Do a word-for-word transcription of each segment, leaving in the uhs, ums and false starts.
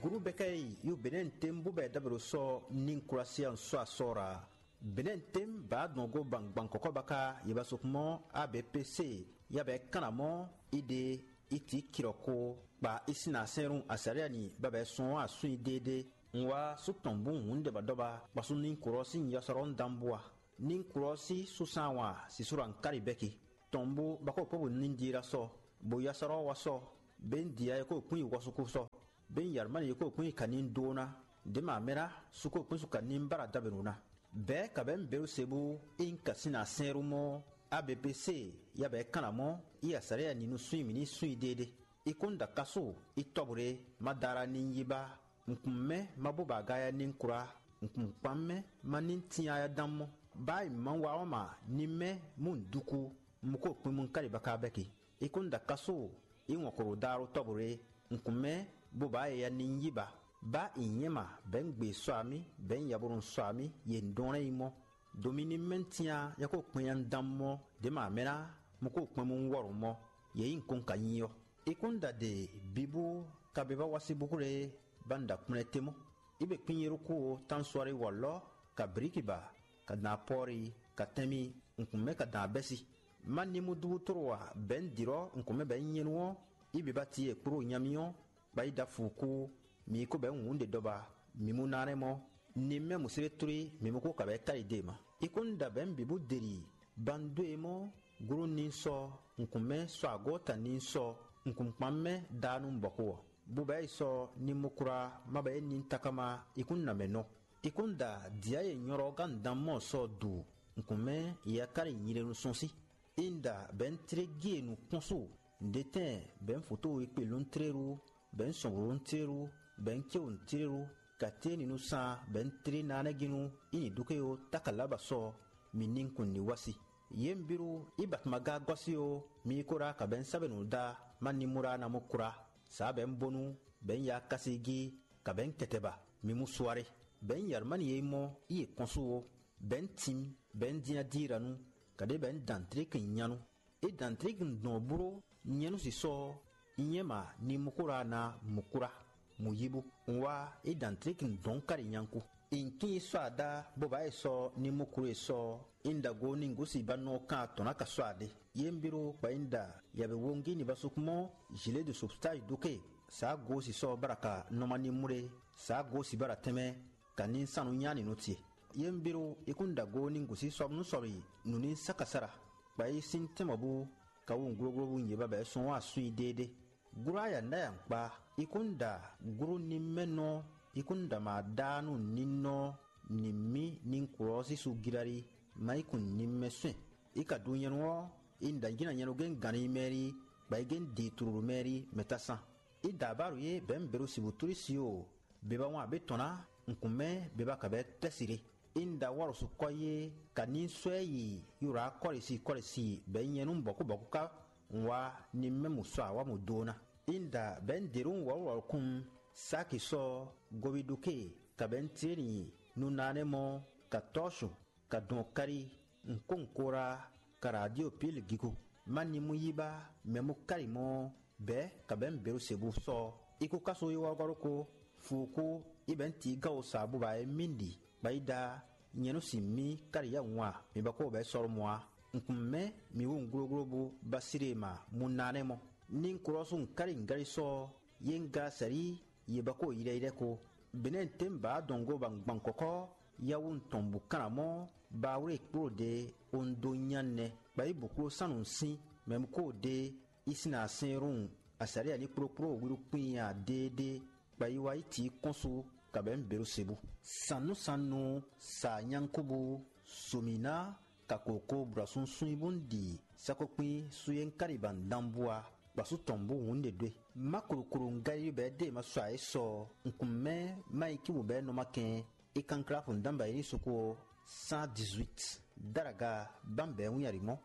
Guru bɛkɛ yi yu benɛn tem bu bɛ dabero sɔ nin kurasiya sɔ asɔra. Benɛn tem ba dɔn go ban gban kɔkɔ baka yeba sokmɔ abpc ya bɛ kana mɔ ide iti kirɔko kpa isina sɛnru asariya ni babɛ sɔn asun idede. Nwa su tɔn bu hun de ba dɔba kpasu nin kurɔ sin yasɔrɔ dan bua. Nin kurɔ si susan wa sisura nkari bɛki. Tɔn bu bako pobu nin dira sɔ. Bo yasɔrɔ wa sɔ. Ben dia ko kpun yi wɔsuku sɔ. Ben Yarmani yi ko kpun yi kanin dona. Dema mera su ko kpun su kanin bara dabenu na. Bɛɛ ka bɛ beru sebu in kasina sɛnru mɔ abpc ya bɛ kana mɔ i asariya ninu sun mini sun dede. I kun da kasu i tɔbure ma dara ni yi ba. Nkun mɛ ma bo ba ga ya ni kura. Nkun kpan mɛ ma ni tin ya dan mɔ. Ba i ma wa ɔ ma ni mɛ mu duku. Mu ko kpin mu kari baka bɛki. I kun da kasu i wɔn koro daro tɔbure. Nkun mɛ bo ba ya ni yi ba. Ba i nyɛ ma bɛ n gbe sɔ ami bɛ n yabonu sɔ ami ye ndɔn yi mɔ. Domi ní mɛntia ya ko kpɛn ya dan mɔ dě ma mɛ ná, mo ko kpɛn mo wɔrɔ mɔ yě yi nukɔn ka nyi ɔ́. Ikúnda de bibu ka be va wá sí búkúɖe ba n da kplɛ́n te mɔ. Ibe kpínyéɖókú o tánsuari wɔlɔ́ ka bríkiba ka dan apɔ́ri ka tɛ́nmí nukúnmɛ ka dan abɛ́si. Má ní mú dúbútoro a bɛ̌ n dǐrɔ́ nukúnmɛ bɛ̌ nyɛ́nú ɔ́, ibe ba ti e kpló nyamí ɔ́, kpa yi da fu kú, mi yi ko bɛ̌ wǔn ɖe dɔba, mi mú ná nɛ́ mɔ. Ni mɛ museletlí mi mɔ kó kabɛ káyi dé ma. Ikúnda bɛ̌ bǐ bú deli bandó e mɔ gló ní sɔ́ nǔkún mɛ sɔ́ agɔ́ta ní sɔ́ nǔkún kpán mɛ daanu bɔkó ɔ́. Bubɛ yi sɔ́ ní mú kura má bɛ é ní takama ikúnna mɛ nɔ. Ikúnda dǐa e nyɔ́rɔ gán dan mɔ sɔ́ du nǔkún mɛ yakáli nyilenu sɔ́n sí. Inda bɛ̌ tlé gíe nǔkpɔ́n so. Ǹdetɛ́n bɛ̌ foto e kpe lóntlérú, bɛ̌ sɔnwǔlóntlérú, bɛ̌ céwǔntlérú, katéninu sán bɛ̌ tlé nanɛ́gínnu í nǐ dúké ó tákalǎba sɔ́ mi ní kun ní wá sí. Yě un bírú í batuma gá gɔ́ sí ó, mi yi kó ɖá kabɛ̌ sábɛ́ nǔ dá má ní mú ɖá ná mú kúrá. Sǎ bɛ̌ bónú bɛ̌ ya kási gí kabɛ̌ kɛtɛ ba, mi mú suáré. Bɛ̌ yǎrúmánì e mɔ í è kɔn sú ó, bɛ̌ tín, bɛ̌ dín adíra nú, kaɖé bɛ̌ dǎn tlé kɛn nyanu. E dǎntriki dɔn bló nyɛ́nú sisɔ nyɛ́ma ni mukúra na mukúra muyibu. Un wá e dǎntriki dɔn kári nyanku. Inkin sɔ ada bó ba e sɔ ni mukúru e sɔ indago ni gúsi ba nɔ kan atɔn na ka sɔ ade. Ye mbiro kpa inda yabe wongi ni ba sukumɔ jile do substage duke. Sa go sisɔ baraka nɔma ni mure. Sa go si bara tɛmɛ ka ni sanu nyani no tie. Ye mbiro ikun dago ni gúsi sɔbnu sɔbi nu ni sakasara. Kpa yi sin tɛmɔ bu ka wu gloglo wu nyě babɛ sɔn wá sun yi déédé. Gúrú aya nɖ'ayǎ kpá. I kún ɖa gúrú ní mɛ nɔ, i kún ɖa ma ɖá nú ní nɔ ní mí ní kplɔ́ sísú gíláli má yi kun ní mɛ sɛn. I ka ɖu nyɛnu ɔ́, i ɖa jǐ na nyɛnu gɛ́n gan ní mɛ rí, bɔ i gɛ́n di tlulu mɛ rí mɛ tá sán. I da abáru yé bɛ̌ mi běɖo sibutúlí si o, beba wan abě tɔn ná, nǔkún mɛ beba ka bɛ́ tɛ́ si ɖé. Inda wɔ́ ɖo sukɔ yé ka ní sɔ́ ɛ yi yúrá kɔ́lisi kɔ́lisi bɛ̌ nyɛ nú bɔ̌kúbɔ̌kú ká un wá ní mɛ mǔ sɔ́ awǎ mǔ dó ná. Inda bɛ̌ un dě ɖó un wɔ̌lúwɔ́lú kún sáki sɔ́ goviɖuke ka bɛ̌ un tlé nyi nunánɛ́ mɔ ka tɔ́ su ka dɔn káɖí un kó un kó rá ka radio píli gígó. Má ní mú yí bá mɛ mú káɖi mɔ bɛ̌ kabɛ̌ mi běɖo se bú sɔ́. I kú káso yi wɔ́gɔ́ ɖokó, fuukú i bɛ̌ ti gán wo sa bú ba é mí ɖi, bɔ yi ɖa nyɛ nú sin mí káɖi yá wun a, mi ba kó bɛ̌ sɔ́ ɖó mɔ a. Un kun mɛ mi wú un glógló bú Basíɖe ma mú ná nɛ́ mɔ. Ní un klɔ́ sú un káɖi un gáli sɔ́ yé un gá sɛ̌lí yě ba kó yilɛ́yilɛ́ ko. Běnɛ́ tɛ́nbǎ dɔn gó ba un gban kɔ́kɔ́ yáwú un tɔn bǔ kán amɔ́ ba wlé kpló ɖě ó un dó nyá nɛ́, bɔ yi bǔ kló sán nǔ sín mɛ un kó ɖě Isinasɛnrun Asalia ní kplókpló wíɖúkpínya déédéé, kpa yi wá yi tǐ kɔ́n su kabɛ̌ běɖo se bú. Sannúsannu sa nyánkubu zomǐná kakoko brɔ̌súnsún yi bú un ɖi sákókpín sú yé un káɖi ba un dán bú a, kpasú tɔn bú hǔn ɖě ɖó e. Má kloklo un Galilée bɛ́ ɖée ma sɔ ayǐ sɔ un kun mɛ má yi cíbǔ bɛ́ nɔ má kɛn é kanklá xo un dán ba yi ní suku ɔ́ cent dix-huit. Daraga bámbɛ̌ wín aɖǐ mɔ́.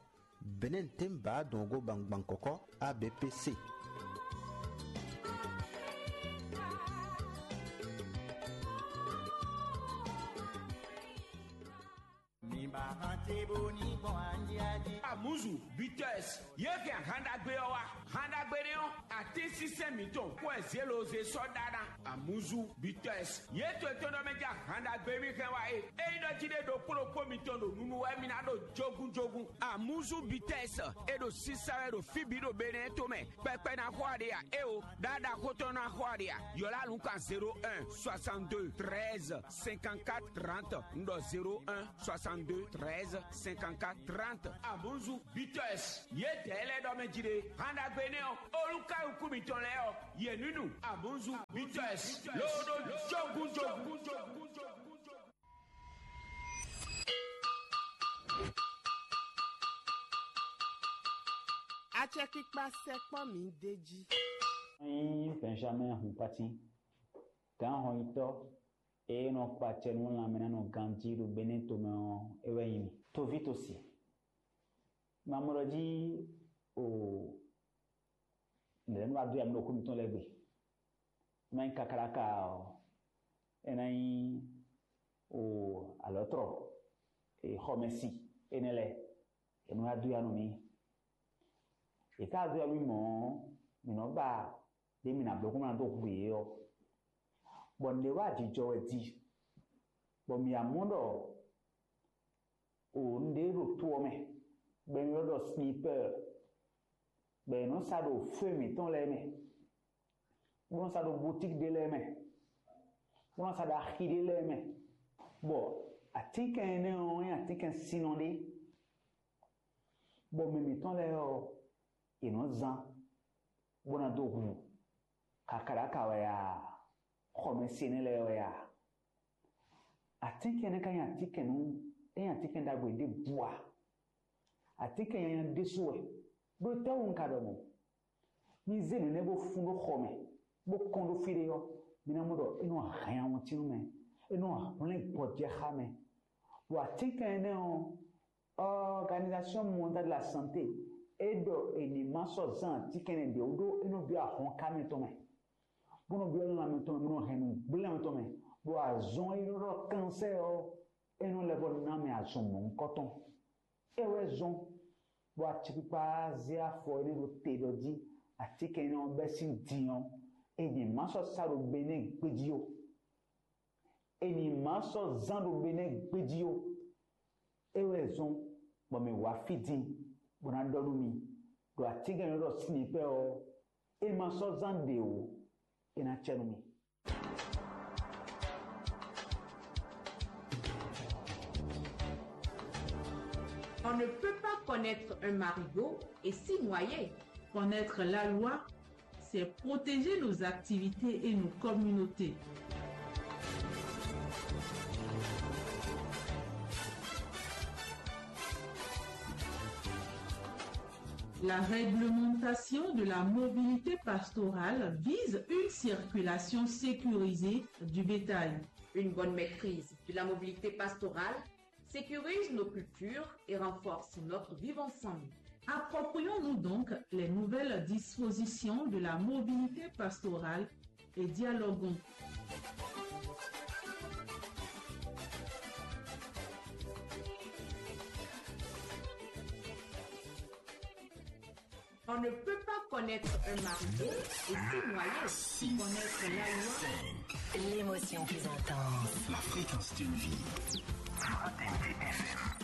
Benɛ́ tɛ́nbǎ dɔn gó gbangban kɔkɔ A B P C. Amuzu, Bitters, yé hɛn ahan ɖagbe ɔ́ wá. Han ɖagbe nɛ́ ɔ́, Atínsínsɛ́n mǐtɔn kó wɛ zělozé sɔ́ ɖa ná. Amuzu Bitɔs, yě to etɔ́ ɖɔ mɛ ja han ɖagbe mì hɛn wá é. Ényí ɖɔ jí ɖé ɖokpó ɖokpó mitɔn ɖo nunu wɛ mi ná ɖo jógúnjógún. Amuzu Bitɔs, é ɖo sísá wɛ ɖo fí bǐ ɖo Benɛ́ to mɛ. Kpɛkpɛ ná xɔ aɖe a? Éwo, ɖaɖa xótɔn ná xɔ aɖe a? Yɔ̌lá nǔkan zéro un soixante-deux treize cinquante-quatre trente. Un ɖɔ zéro un soixante-deux treize cinquante-quatre trente. Amuzu Bitɔs, yě dɛ̌ lɛ́ɛ ɖɔ mɛ jí ɖé. Han ɖagbe nɛ́ ɔ́, olúkálukú mitɔn lɛ́ɛ ɔ́, yě ní nu. Amuzu Bitɔs, lóɖó jógúnjógún. Acɛkpikpa sɛkpɔ́ mǐ d'é jí. Nyí Benjamin Hunpati, gǎnhɔnyitɔ́ e nɔ kpa acɛ nú lanmɛnánɔganjí ɖo Benɛ́ tomɛ ɔ́, é wɛ nyí mì. Toví tosi, ma mɔ ɖɔ jí o nɛ̌ nɔ wá dó ya mì ɖo xwé mǐtɔn lɛ́ɛ gbe. É ná nyí kakáɖáka ɔ́, é ná nyí o alɔ̌tlɔ, xɔmɛsi énɛ́ lɛ́ɛ, è nɔ wá dó ya nú mì. È ka dó ya nú mì mɔ̌ ɔ́, mǐ nɔ ba ɖě mǐ ná bló kó ná dó hu yě ɔ́, bɔ nǔɖé wá jijɔ wɛ di, bɔ mǐ wá mɔ ɖɔ o nǔɖé ɖo to ɔ́ mɛ, bɔ è nɔ ylɔ́ ɖɔ snipɛ́ɛ, bɔ è nɔ sa ɖo fwé mǐtɔn lɛ́ɛ mɛ, bó nɔ sa ɖo butíki ɖé lɛ́ɛ mɛ, bó nɔ sa ɖo axi ɖé lɛ́ɛ mɛ, bɔ atínkɛn énɛ́ ɔ́ nyí atínkɛn sinnɔ ɖé, bɔ mɛ mǐtɔn lɛ́ɛ ɔ́, è nɔ zán bó ná dó hu kakáɖáka wɛ a, xɔmɛsɛnɛ lɛ́ɛ wɛ a. Atínkɛn énɛ́ ka nyí atínkɛn nú é nyí atínkɛn ɖagbe ɖěbǔ a? Atínkɛn nyanya ɖésú wɛ, ɖó étɛ́wú un ka ɖɔ mɔ̌? Mi zé nǔ énɛ́ bó fún ɖó xɔ mɛ, bó kɔn ɖó fí ɖé ɔ́, mi ná mɔ ɖɔ é nɔ hɛn awɔntín nú mɛ, é nɔ hwlɛ́n gbɔjɛ́ xá mɛ. Ɖo atínkɛn énɛ́ ɔ́, Organisation Mondiale de la Santé é ɖɔ è nǐ ma sɔ́ zán atínkɛn ɖě wú ɖó é nɔ byɔ́ ahɔnká mɛtɔn mɛ, bó nɔ byɔ́ lanmɛ tɔn mɛ, bó nɔ hɛn nǔgblé lanmɛ tɔn mɛ, bɔ azɔn e nɔ ɖɔ kansɛ́ ɔ́, é nɔ lɛ́ vɔ ná mɛ azɔn mɔ̌hunkɔtɔn. É wɛ zɔ́n bɔ acɛkpikpa zé afɔ énɛ́ ɖó te ɖɔ jí atínkɛn énɛ́ ɔ́ bɛ́ sín din ɔ́, è nǐ ma sɔ́ sa ɖo gbe nɛ́ gbéjí ó. È nǐ ma sɔ́ zán ɖo gbe nɛ́ gbéjí ó. É wɛ zɔ́n bɔ mǐ wá fí din bó ná ɖɔ nú mi ɖɔ atínkɛn e nɔ ɖɔ sinipɛ́ ɔ́, é ma sɔ́ zán ɖě ó, é ná cɛ nú mi. On ne peut pas connaître un marigot et s'y noyer. Connaître la loi, c'est protéger nos activités et nos communautés. La réglementation de la mobilité pastorale vise une circulation sécurisée du bétail. Une bonne maîtrise de la mobilité pastorale sécurise nos cultures et renforce notre vivre ensemble. Approprions-nous donc les nouvelles dispositions de la mobilité pastorale et dialoguons. On ne peut pas connaître un marigot et s'y noyer. Connaître la loi. L'émotion plus intense. La fréquence d'une vie. Fraternité F M.